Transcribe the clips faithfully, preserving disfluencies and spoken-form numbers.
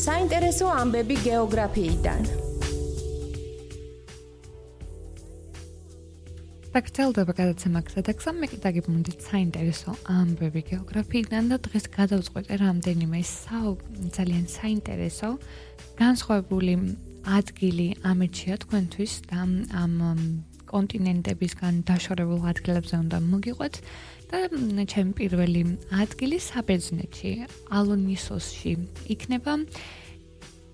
საინტერესო ამბები გეოგრაფიიდან. გრძელდება გადაცემა გზადაგზა, მე კიდე გიბმუნდით საინტერესო ამბები გეოგრაფიიდან და დღეს გადავწყვეტე რამდენიმე ძალიან საინტერესო განსხვავებული ადგილი ამერჩია თქვენთვის და ამ კონტინენტებისგან დაშორებულ ადგილებზე უნდა მოგიყვეთ და ჩემი პირველი ადგილი საბერძნეთში, ალონისოსში იქნება.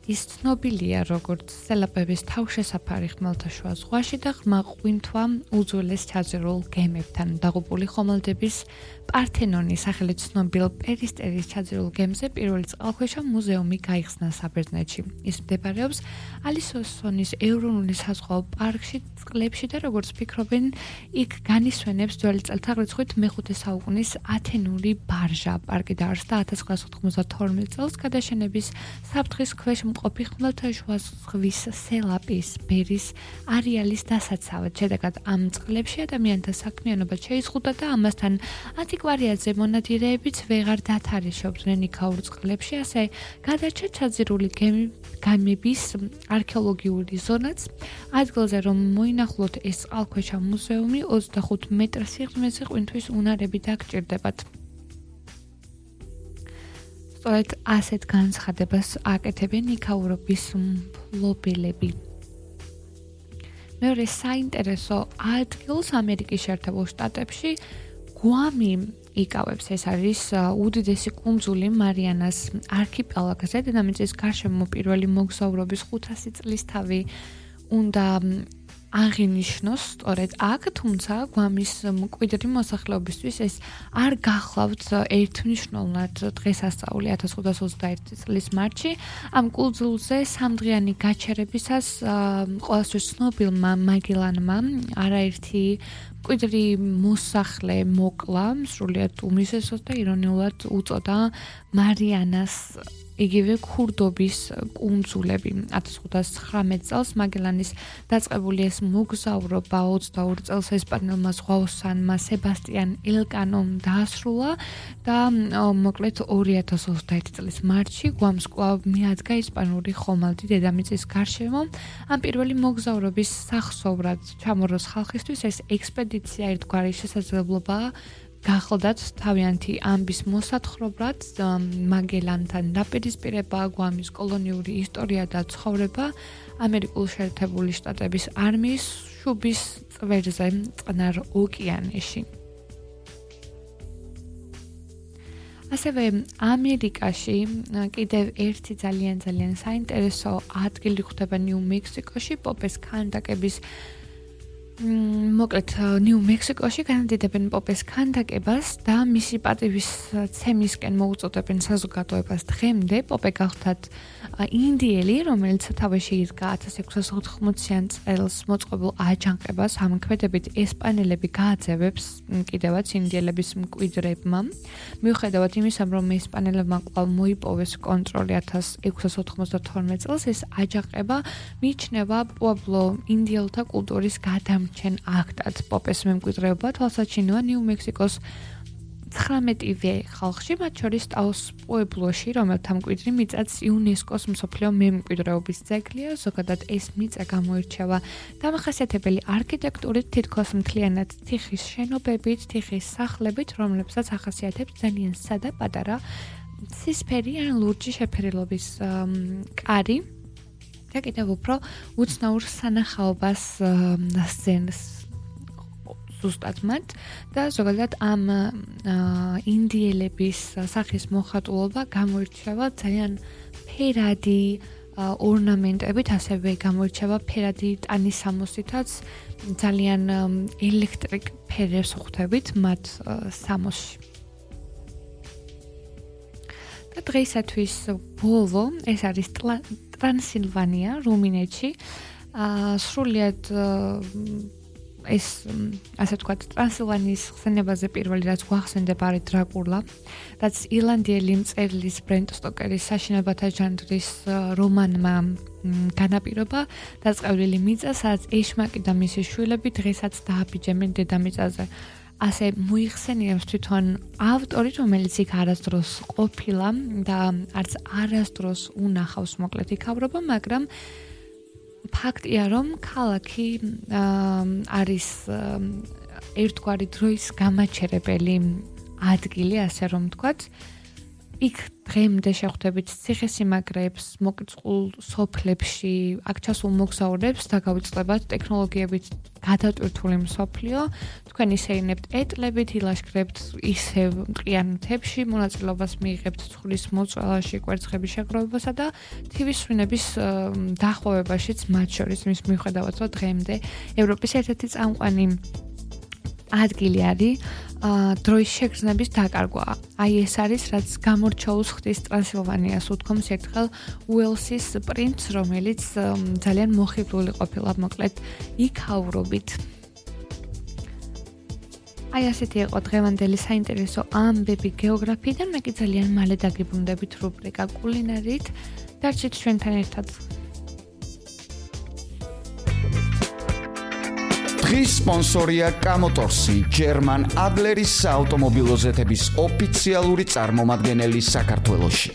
ის ცნობილია როგორც სელაპების თავშესაფარი ხმელთაშუა ზღვაში და ღრმა ყვინთვა უძველეს ჩაძირულ გემებთან დაღუპული ხომალდების პართენონის სახელით ცნობილ პერისტერის ჩაძირულ გემზე პირველი წყალქვეშა მუზეუმი გაიხსნა საბერძნეთში. ის მდებარეობს ალისოსონის ეროვნული საზღვაო პარკში წყლებში და როგორც ფიქრობენ, იქ განისვენებს ძველი წელთაღრიცხვით მეხუთე საუკუნის ათენური ბარჟა. პარკი დაარსდა ათას ცხრაასა ოთხმოცდათორმეტ წელს გადაშენების საფრთხის ქვეშ მყოფი ხმელთაშუა ზღვის სელაპის ბერის არეალის დასაცავად. შედეგად ამ წყლებში ადამიანთა საქმიანობა შეიზღუდა და ამასთან ანტიკვარიატზე მონადირეებიც ვეღარ დათარეშობდნენ იქაურ წყლებში, ასე გადარჩა ჩაძირული გემების არქეოლოგიური ზონაც. ადგილზე რომ მოინახულოთ ეს წყალქვეშა მუზეუმი ოცდახუთ მეტრ სიღრმეზე ყვინთვის უნარები დაგჭირდებათ. სწორედ ასეთ განცხადებას აკეთებენ იქაურობის მფლობელები. მეორე საინტერესო ადგილს ამერიკის შეერთებულ შტატებში გვამი იკავებს. ეს არის უდიდესი კუნძული მარიანას არქიპელაგზე. დედამიწის გარშემო პირველი მოგზაურობის ხუთასი წლისთავი უნდა აღინიშნოს სწორედ აქ, თუმცა გვამის მკვიდრი მოსახლეობისთვის ეს არ გახლავთ ერთმნიშვნელოვნად დღესასწაული ათას ხუთას ოცდაერთი წლის მარტში. ამ კუნძულზე სამდღიანი გაჩერებისას ყოველთვის ცნობილმა მაგელანმა არაერთი მკვიდრი მოსახლე მოკლა, სრულიად უმისესოს და ირონიულად უწოდა მარიანას იგივე ქურდობის კუნძულები. ათას ხუთას ცხრამეტ წელს მაგელანის დაწყებული ეს მოგზაურობა ოცდაორ წელს ესპანელმა ზღვაოსანმა სებასტიან ელკანომ დაასრულა და მოკლედ ორი ათას ოცდაერთი წლის მარტში გვამს კვლავ მიადგა ესპანური ხომალდი დედამიწის გარშემო. ამ პირველი მოგზაურობის სახსოვრად ჩამოროს ხალხისთვის ეს ექსპედიცია ერთგვარი შესაძლებლობაა გახლდათ თავიანთი ამბის მოსათხრობად მაგელანთან დაპირისპირება, გვამის კოლონიური ისტორია და ცხოვრება ამერიკულ შეერთებული შტატების არმიის შუბის წვერზე წყნარ ოკეანეში. ასევე ამერიკაში კიდევ ერთი ძალიან ძალიან საინტერესო ადგილი ხდება ნიუ-მექსიკოში, პოპეს ქანდაკების მოკლედ ნიუ-მექსიკოში განადიდებენ პოპეს ქანდაკებას და მისი პატივისცემისკენ მოუწოდებენ საზოგადოებას დღემდე. პოპე გახლდათ ინდიელი, რომელიც სათავეში იდგა ათას ექვსას ოთხმოციან წელს მოწყობილ აჯანყებას. ამ ქმედებით ესპანელები გააძევებს კიდევაც ინდიელების მკვიდრებმა. მიუხედავად იმისა, რომ ესპანელებმა კვლავ მოიპოვეს კონტროლი ათას ექვსას ოთხმოცდათორმეტ წელს, ეს აჯანყება მიიჩნევა პუებლო ინდიელთა კულტურის გადამ ჩემ აქტად. პოპეს მემკვიდრეობა თვალსაჩინოა ნიუ-მექსიკოს ცხრამეტივე ხალხში, მათ შორის ტაოს პუებლოში, რომელთა მკვიდრი მიწაც იუნესკოს მსოფლიო მემკვიდრეობის ძეგლია. ზოგადად ეს მიწა გამოირჩევა დამახასიათებელი არქიტექტურით, თითქოს მთლიანად თიხის შენობებით, თიხის სახლებით, რომლებსაც ახასიათებს ძალიან სადა პატარა ცისფერი ან ლურჯი შეფერილობის კარი. და კიდევ უფრო უცნაურ სანახაობას სცენს ზუსტად მათ და ზოგადად ამ ინდიელების სახის მოხატულობა გამოირჩევა ძალიან ფერადი ორნამენტებით, ასევე გამოირჩევა ფერადი ტანის სამოსითაც, ძალიან ელექტრიკ ფერებს ხვდებით მათ სამოსში. და დღეისათვის ბოლო ეს არის ტრანსილვანია, რუმინეთში. სრულიად ეს ასე ვთქვათ, ტრანსილვანიის ხსენებაზე პირველი რაც გვახსენდება არის დრაკულა, რაც ირლანდიელი მწერლის ბრენტ სტოკერის საშინელებათა ჟანრის რომანმა განაპირობა დაწყევლილი მიწა, სადაც ეშმაკი და მისი შვილები დღესაც დააბიჯებენ დედამიწაზე. ასე მოიხსენიებს თვითონ ავტორი, რომელიც იქ არასდროს ყოფილა და არც არასდროს უნახავს მოკლედ იქავრობა, მაგრამ ფაქტია, რომ ქალაქი არის ერთგვარი დროის გამაჩერებელი ადგილი, ასე რომ ვთქვათ. იქ დღემდე შეხვდებით ციხესიმაგრეებს, მოკიწყულ სოფლებში, აქ ჩასულ მოგზაურებს და გავიწყდებათ ტექნოლოგიებით გადატვირთული მსოფლიო. თქვენ ისეინებთ ეტლებით, ილაშქრებთ ისევ მტყიან მთებში, მონაწილეობას მიიღებთ ცხვრის მოწველაში, კვერცხების შეგროვებასა და თივის სვინების დახვევებაშიც, მათ შორის მის მიუხედავად, რომ დღემდე ევროპის ერთ-ერთი წამყვანი ადგილი არის დროის შეგრძნების დაკარგვა. აი ეს არის, რაც გამორჩეულს ხდის ტრანსილვანიას უთქვამს ერთხელ უელსის პრინცს, რომელიც ძალიან მოხიბლული ყოფილა მოკლედ იქავრობით. აი ასეთი იყო დღევანდელი საინტერესო ამბები გეოგრაფიიდან. მე კი ძალიან მალე დაგიბრუნდებით რუბრიკა კულინარიით. დარჩით ჩვენთან ერთად. დღის სპონსორია კამოტორსი, ჯერმან ადლერის საავტომობილო ზეთების ოფიციალური წარმომადგენელი საქართველოში.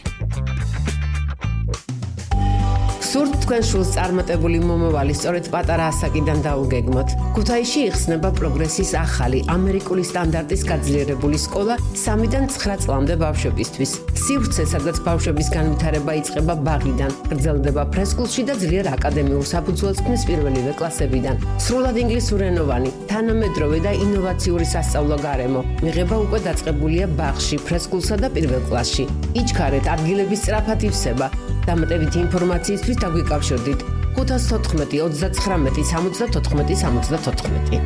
სურთ თქვენ შულს წარმატებული მომავალი სწორედ პატარა ასაკიდან დაუგეგმოთ. ქუთაისში იხსნება პროგრესის ახალი ამერიკული სტანდარტის გაძლიერებული სკოლა სამიდან ცხრა წლამდე ბავშვებისთვის. სივრცე, სადაც ბავშვების განვითარება იწყება ბაღიდან, გრძელდება ფრესკულში და ძლიერ აკადემიურ საფუძველს ქმნის პირველივე კლასებიდან. სრულად ინგლისურენოვანი, თანამედროვე და ინოვაციური სასწავლო გარემო. მიღება უკვე დაწყებულია ბაღში, ფრესკულსა და პირველ კლასში. იჩქარეთ, ადგილების სწრაფად ივსება. დამატებითი ინფორმაციისთვის დაგვიკავშირდით ხუთას თოთხმეტი ოცდაცხრამეტი სამოცდათოთხმეტი სამოცდათოთხმეტი.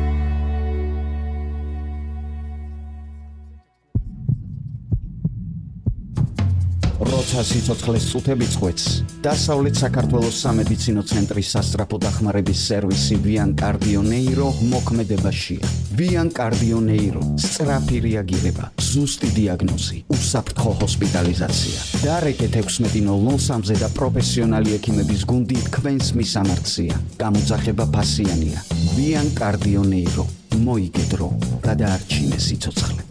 როცა სიცოცხლეს წუთები წყვეტს, დასავლეთ საქართველოს სამედიცინო ცენტრის სასწრაფო დახმარების სერვისი Vian Cardio Neuro მოქმედებაშია. Vian Cardio Neuro, სწრაფი რეაგირება, ზუსტი დიაგნოზი, უსაფრთხო ჰოსპიტალიზაცია. დარეკეთ ექვსმეტი ნულ ნულ სამზე და პროფესიონალი ექიმების გუნდი თქვენს მისამართზეა. გამოძახება ფასიანია. Vian Cardio Neuro, მოიგედრო, გადაარჩინე სიცოცხლე.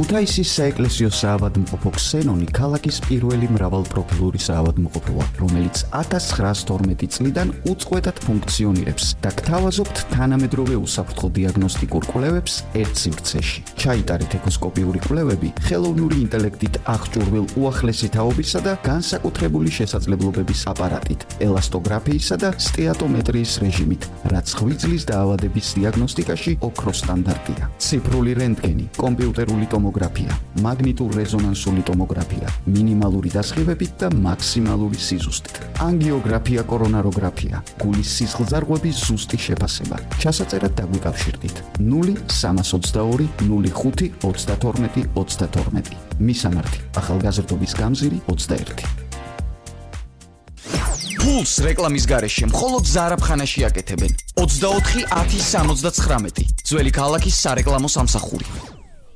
ქუთაისის საეკლესიო საავადმყოფო ქსენონი ქალაქის პირველი მრავალპროფილური საავადმყოფოა, რომელიც ათას ცხრაას თორმეტი წლიდან უწყვეტად ფუნქციონირებს და გთავაზობთ თანამედროვე უსაფრთხო დიაგნოსტიკურ კვლევებს ერთ სივრცეში. ჩაიტარეთ ეკოსკოპიური კვლევები ხელოვნური ინტელექტით აღჭურვილ უახლესი თაობისა და განსაკუთრებული შესაძლებლობების აპარატით, ელასტოგრაფიისა და სტეატომეტრიის რეჟიმით, რაც ღვიძლის დაავადების დიაგნოსტიკაში ოქროს სტანდარტია. ციფრული რენტგენი, კომპიუტერული ტომოგრაფია, მაგნიტურ-რეზონანსული ტომოგრაფია, მინიმალური დასხივებით და მაქსიმალური სიზუსტით. ანგიოგრაფია, კორონაროგრაფია, გულის სისხლძარღვების ზუსტი შეფასება. ჩასაწერად დაგვიკავშირდით ნული სამას ოცდაორი ნული ხუთი ოცდათორმეტი ოცდათორმეტი. მისამართი: ახალგაზრდობის გამზირი ოცდაერთი. ფულს რეკლამის გარეშე მხოლოდ ზარაფხანაში აკეთებენ. ოცდაოთხი ათი სამოცდაცხრამეტი. ძველი ქალაქის სარეკლამო სამსახური.